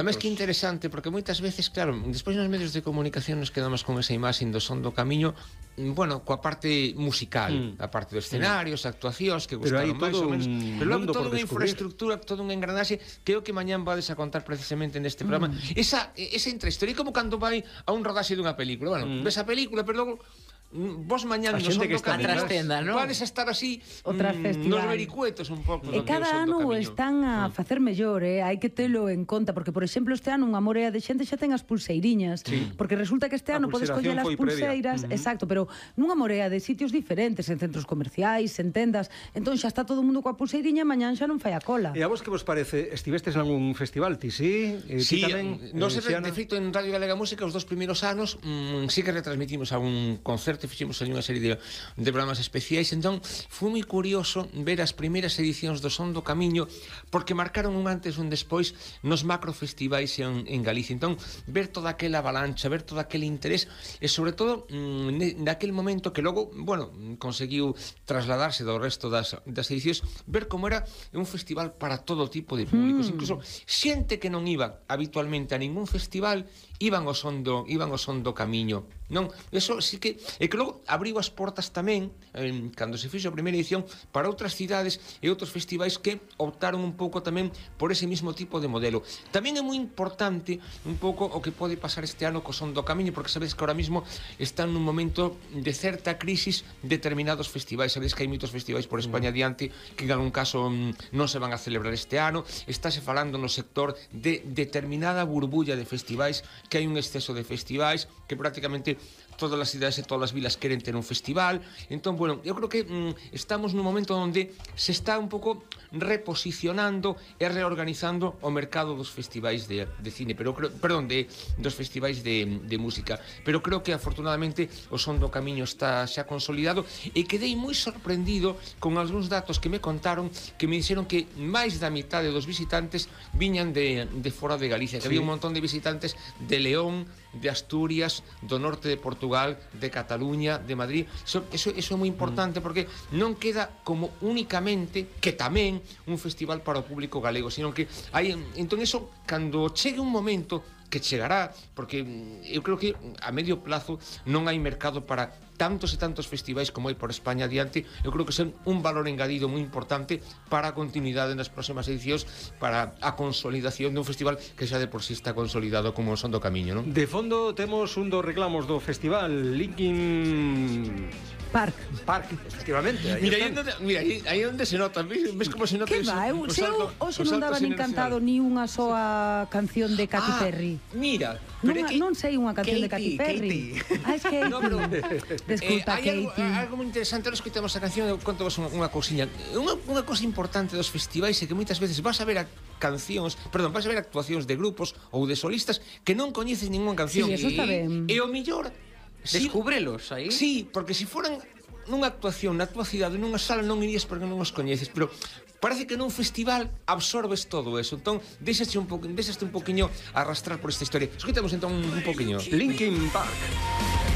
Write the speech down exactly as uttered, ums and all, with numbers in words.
Además que interesante, porque moitas veces, claro, despois nos medios de comunicación nos quedamos con esa imaxe do Son do Camiño, bueno, coa parte musical, mm. a parte dos escenarios, mm. actuacións que gustaron máis ou menos, pero logo toda unha infraestructura, toda unha engranaxe, que é o que mañán vades a contar precisamente neste programa. Mm. Esa, esa intrahistoria, como cando vai a un rodaxe dunha película, bueno, mm. ves a película, pero logo vos mañán no Son do Camiño vades a estar así mm, nos vericuetos un pouco. E cada ano o están a facer mellor, eh? Hai que telo en conta, porque por exemplo este ano unha morea de xente xa ten as pulseiriñas, sí. porque resulta que este ano podes coller as pulseiras, uh -huh. exacto, pero nunha morea de sitios diferentes, en centros comerciais, en tendas, entón xa está todo o mundo coa pulseiriña, mañán xa non fai a cola. E a vos que vos parece? Estivestes en algún festival, ti, sí? Eh, sí, tamén, no, eh, de feito en Radio Galega Música os dos primeiros anos mmm, sí que retransmitimos algún concerto, fixemos ali unha serie de, de programas especiais, entón foi moi curioso ver as primeiras edicións do Son do Camiño, porque marcaron un antes e un despois nos macrofestivais en, en Galicia. Entón, ver toda aquela avalancha, ver todo aquel interés, e sobre todo mmm, naquel momento que logo, bueno, conseguiu trasladarse do resto das, das edicións, ver como era un festival para todo tipo de públicos, mm. incluso xente que non iba habitualmente a ningún festival, iban ao son do, iban ao son do Camiño. Non, eso sí que é que logo abriu as portas tamén eh, cando se fixo a primeira edición para outras cidades e outros festivais que optaron un pouco tamén por ese mismo tipo de modelo. Tamén é moi importante un pouco o que pode pasar este ano co Son do Camiño, porque sabedes que ahora mismo están nun momento de certa crisis determinados festivais. Sabedes que hai moitos festivais por España adiante que en algún caso non se van a celebrar este ano. Estáse falando no sector de determinada burbulla de festivais, que hai un exceso de festivais, que prácticamente todas as cidades e todas as vilas queren ter un festival. Entón, bueno, eu creo que mm, estamos nun momento onde se está un pouco reposicionando e reorganizando o mercado dos festivais de, de cine, pero creo, perdón, de, dos festivais de, de música, pero creo que afortunadamente o Son do Camiño está xa consolidado, e quedei moi sorprendido con algúns datos que me contaron, que me dixeron que máis da mitade dos visitantes viñan de, de fora de Galicia, que sí. había un montón de visitantes de León, de Asturias, do norte de Portugal, de Cataluña, de Madrid. Eso, eso, eso é moi importante, porque non queda como únicamente, que tamén, un festival para o público galego, sino que hai, entón eso, cando chegue un momento, que chegará, porque eu creo que a medio plazo non hai mercado para tantos e tantos festivais como hai por España adiante. Eu creo que son un valor engadido moi importante para a continuidade nas próximas edicións, para a consolidación dun festival que xa de por si está consolidado como o Son do Camiño, non? De fondo temos un dos reclamos do festival, Linkin Park. Park, efectivamente. Aí mira, aí onde, mira, aí, aí onde se nota, ves como se nota. Que va, eu, se eu hoxe non daba nin cantado ni unha soa canción de Katy ah, Perry. Mira, non, que, non sei unha canción Katy, de Katy Perry. Katy. Ah, es Katy. No, pero, Desculpa, eh, Katy. Hai algo moi interesante, ahora escoitamos a canción, eu conto vos unha, unha cousiña. Unha, unha cousa importante dos festivais é que moitas veces vas a ver a cancións, perdón, vas a ver actuacións de grupos ou de solistas que non coñeces ninguna canción. Sí, eso está ben. E o millor descúbrelos aí. Sí, porque se si foran nunha actuación na tua cidade, nunha sala, non irías porque non os coñeces, pero parece que nun festival absorbes todo eso. Entón, deixaste un pouco, deixaste un poquinho arrastrar por esta historia. Escoitamos entón un poquinho. Linkin Park.